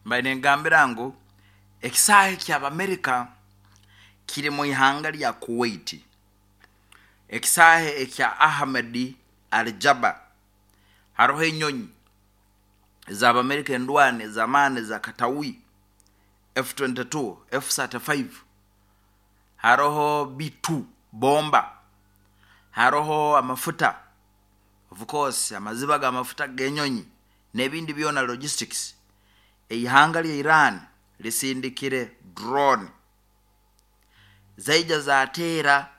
Mbaire ningambira ngu ekisaahe ky'Abamerika kiri mu ihanga rya Kuwait. Ekisaahe ekya Ahmed Al Jaber hariho enyonyi ez'Abamerika endwani ez'amaani eza Katawi, F-22, F-35, hariho B-2 bomba, hariho amafuta of course amaziba g'amafuta g'enyonyi n'ebindi byona logistics. Eihanga rya Iran risindikire drone zaija zateera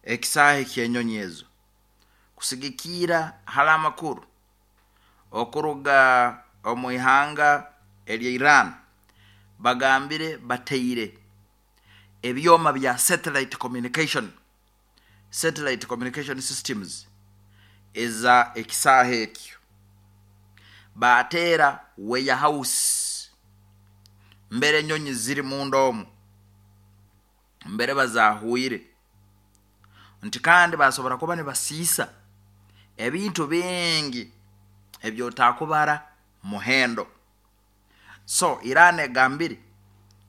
ekisaahe ky'enyonyi ezo. Kusigikiira hali amakuru okuruga omu ihanga erya Iran, bagambire bateire ebyoma bya satellite communication, satellite communication systems, eza ekisaahe ekyo baateera warehouse mbere enyonyi ziri munda omu mbere bazaahwire nti kandi baasobora kuba nibasiisa ebintu bingi ebi otaakubara muhendo. So Iran egambire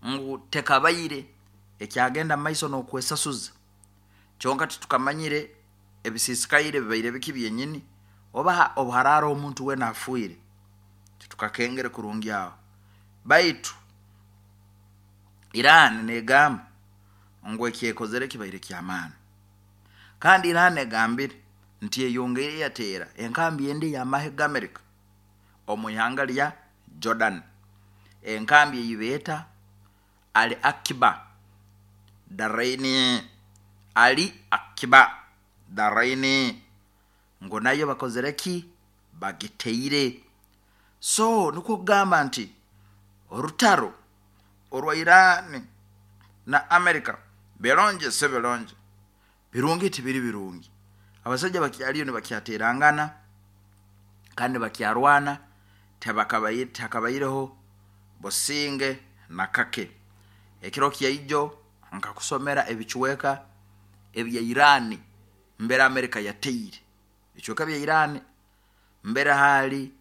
ngu tekabaire ekyagenda mumaiso n'okwesasuza kyonka titukamanyire ebisiisikaire bibaire biki byenyini oba obu haraaraho omuntu weena afiire titukakengere kurungi aho baitu Iran negamba ngu ekyekozere kibaire ky'amaani kandi Iran egambire nti eyongeire yateera enkambi endi ey'amahe g'Amerika omu ihanga rya Jordan, enkambi ei beeta Ali Akiba Daraini, Ali Akiba Daraini, ngu nayo bakozire ki? Bagiteire. So nikwo kugamba nti orutaro orwa Iran na America birungi si birungi, Birungi tibiri birungi. Abasaija bakyariyo nibakyateerangana kandi nibakyarwana, tihakabaireho businge na kake. Ekiro kyaijo nkakusomera ebicweka ebya Iran mbere Amerika yateire. Ebicweka bya Iran mbere haali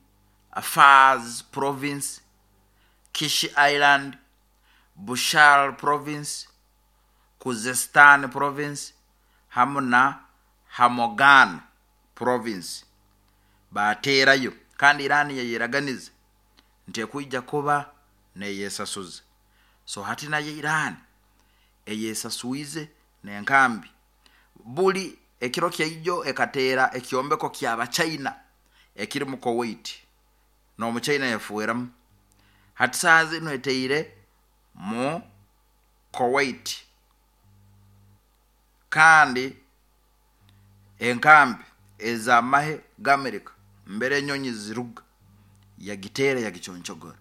Fars Province, Kish Island, Bushehr Province, Khuzestan Province hamu na Hamogan Province baateerayo kandi Iran yayeraganiza nti ekwija kuba neyesasuza. So hati nayo Iran eyesaswize n'enkambi buli ekiro kyaijo ekateera ekyombeko ky'Abachina ekiri mu Kuwait n'Omuchina yafueramu. Hati saaha zinu eteire mu Kuwait kandi enkambi ez'amahe g'Amerika mbere enyonyi ziruga yagiteera yagiconcogora.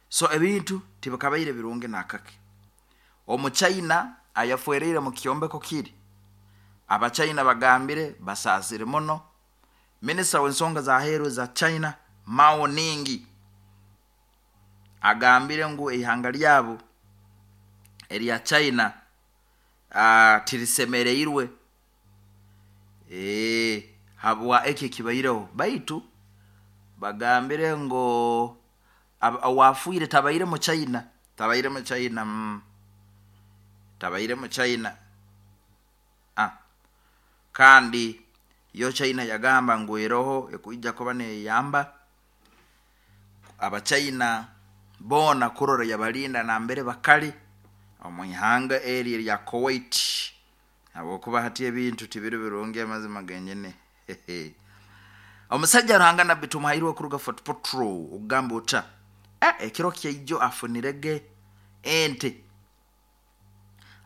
So ebintu tibikabaire birungi n'akake. Omuchaina ayafwereire mu kyombeko kiri, Abachaina bagambire basaasire muno. Minisita w'ensonga z'aheeru eza China, Mao Ning, agambire ngu eihanga ryabo erya China tirisemereirwe habwa eki ekibaireho baitu bagambire ngu owaafiire tabaire Muchaina, tabaire Muchaina, tabaire Muchaina kandi yo China yagamba ngu eroho ekwija kuba neyamba Abachaina boona kurora yabalinda nambere bakali omu ihanga eri erya Kuwait habwokuba hati ebintu tibiri birungi amazima genyini. Omusaija Ruhanga Nabbi Tumuhairwe kuruga Fort Portal okugamba ota ekiro kyaijo afunirege ente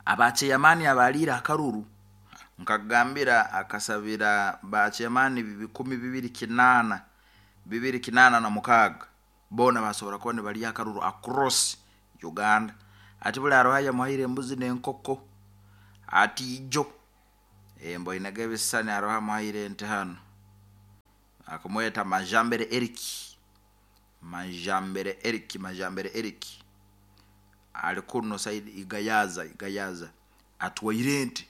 Aba ceyamaani abaaliire akaruru nkakugambira akasabira ba ceyamaani 2800 286 boona baasobora kuba nibarya akaruru across Uganda. Ati buri haroho ayamuhaire embuzi n'enkoko ati ijo mboinege ebisisani haroho amuhaire ente hanu akumweta Majambere Eric, Majambere Eric, Majambere Eric. Ari kunu side Igayaza, Igayaza, atwaire ente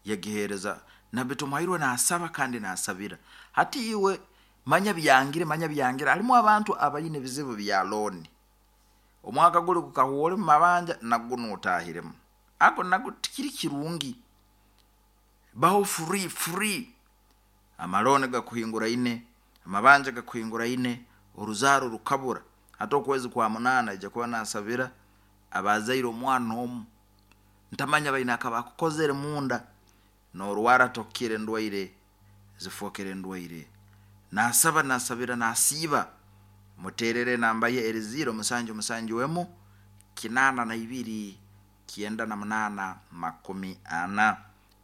yagiheereza Nabbi Tumuhairwe naasaba kandi naasabira. Hati iwe Manya byangire, manya byangire. Harimu abantu abaine ebizibu bya looni. Omwaka guri gukahwa ori mu mabanja na gunu otaahiremu. Ago nago tikiri kirungi. Baho free, free. Amalooni gakuhinguraine, amabanja gakuhinguraine, oruzaaro rukabura. Hati okwezi kwa munaana aija kuba naasabira abaazaire omwana omu. Ntamanya baine akabaakukozere munda. Noorwara tokukira endwaire zifookere endwaire. Naasaba, naasabira, naasiiba. Muteerere enamba ye eri ziiro musanju musanju emu, 82, 98, 40.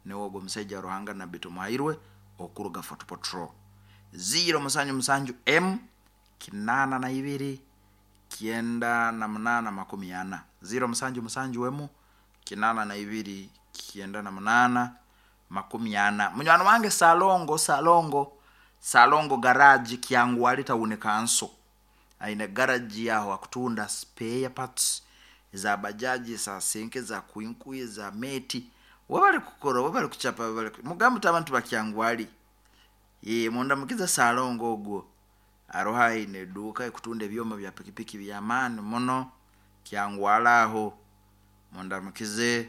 Niwe ogwo omusaija wa Ruhanga Nabbi Tumuhairwe okuruga Fort Portal. Ziiro musanju musanju emu, 82, 98, 40. Ziiro musanju musanju emu, 82, 98, 40. Munywani wange Salongo, Salongo, Salongo Garage, Kyangwali Town Council. Aine garagi aho akutunda spare parts eza bajaji, eza senke, eza kwinku, eza meeti. Webale kukora, webale kuchapa, webale mugambe oti abantu ba Kyangwali. Yee, mundamukize Salongo ogwo. Aroho aine eduuka ekutunda ebyoma bya pikipiki by'amaani muno Kyangwali aho. Mundamukize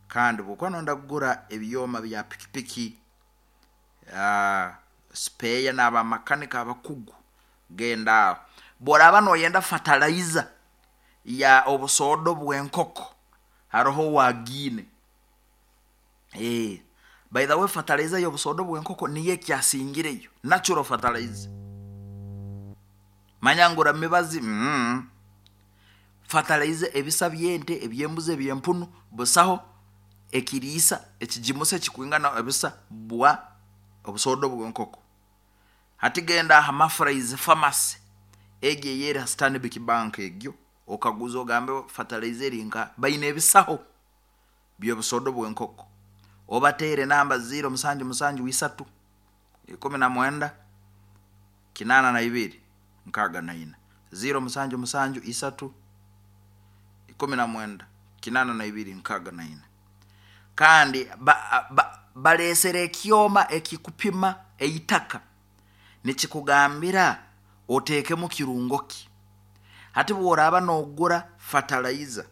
kandi bwokuba noyenda kugura ebyoma bya pikipiki, sipeeya n'abamakanika abakugu genda aho. Bworaaba noyenda fatalayiza ya obusoodo bw'enkoko haroho owagiine. By the way fatalayiza y'obusoodo bw'enkoko niyo ekyasingireyo, natural fertilizer. Manya ngura mibazi, Fatalayiza ebisa by'ente, eby'embuzi, eby'empunu, busaho ekiriisa ekigimusa ekikwingana ebisa bwa obusoodo bw'enkoko. Hati genda aha Mafraiz Pharmacy egyo eyeri ha Stanbic Bank egyo okaguze ogambe fatalayiza eri nkaha, baine ebisaho by'obusoodo bw'enkoko. Obateere enamba ziiro musanju musanju isatu, 19, 82, 64. Ziiro musanju musanju isatu, 19, 82, 64. Kandi ba, ba, baleesere ekyoma ekikupima eitaka nikikugambira oteekemu kirungo ki. Hati bw'oraaba noogura fatalayiza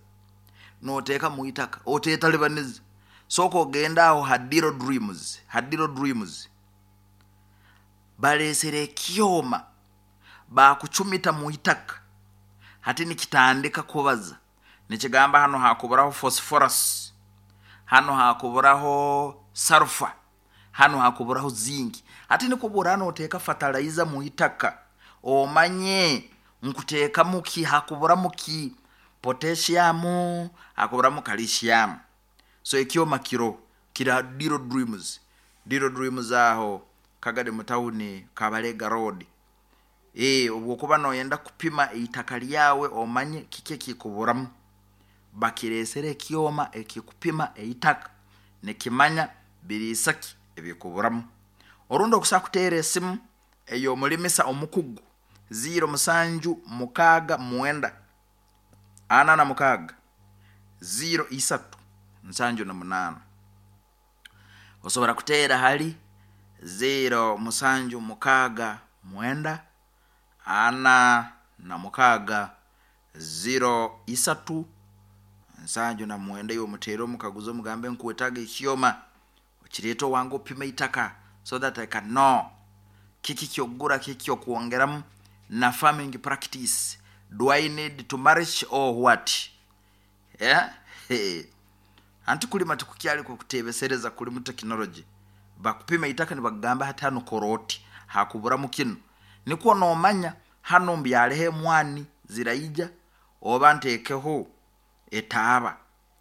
nooteeka mu itaka, oteetalibaniza. Sooka ogende aho ha Diro Dreams, ha Diro Dreams. Baleesere ekyoma baakucumita mu itaka. Hati nikitandika kubaza nikigamba hanu haakuburaho phosphorus, hanu haakuburaho sulphur, hanu haakuburaho zinc. Hati nikwo obu oraaba nooteeka fatalayiza mu itaka, omanye nkuteekamu ki, haakuburamu ki, potassium, haakuburamu calcium. So ekyoma kiroho, kiri ha Diro Dreams, Diro Dreams aho Kagadi mu tawuni Kabalega Road. Ee, obwokuba noyenda kupima eitaka lyawe omanye kiki ekikuburamu, bakireesere ekyoma ekikupima eitaka nikimanya biriisa ki ebikuburamu. Orundi okusobola kuteera esimu ey'omulimisa omukugu ziiro musanju mukaaga mwenda ana na mukaaga ziiro isatu nsanju na munaana. Osobora kuteera hali ziiro musanju mukaaga mwenda ana na mukaaga ziiro isatu nsanju na mwenda iwe omuteere omukaguze omugambe nkwetaaga ekyoma okireete owange opime eitaka so that I can know kiki kyokugura kiki kyokwongeramu na farming practice do I need to mulch or what yeah? Hey. Anti kulima tikukyali kwokuteebesereza kurimu tekinologi. Bakupima eitaka nibakugamba hati hanu kora oti, hakuburamu kinu. Nikwo noomanya hanu mbyareho emwani ziraija oba nteekeho etaaba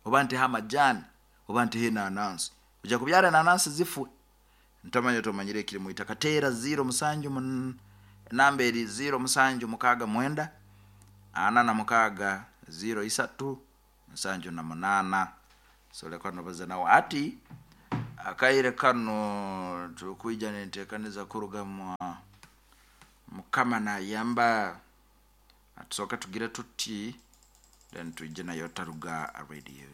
oba nteho amajaani oba nteho enanansi. Oija kubyara enanansi zifwe. Ntamanya tomanyire ekiri mu itaka. Teera ziiro musanju mun enamba eri ziiro musanju mukaaga mwenda ana na mukaaga ziiro isatu 78. Nsobole kuba nobaza nawe. Hati akaire kanu turukwija nentekaniza kuruga mu Mukama nayamba tusooke tugire tuti then twije nayo Taruga Radio.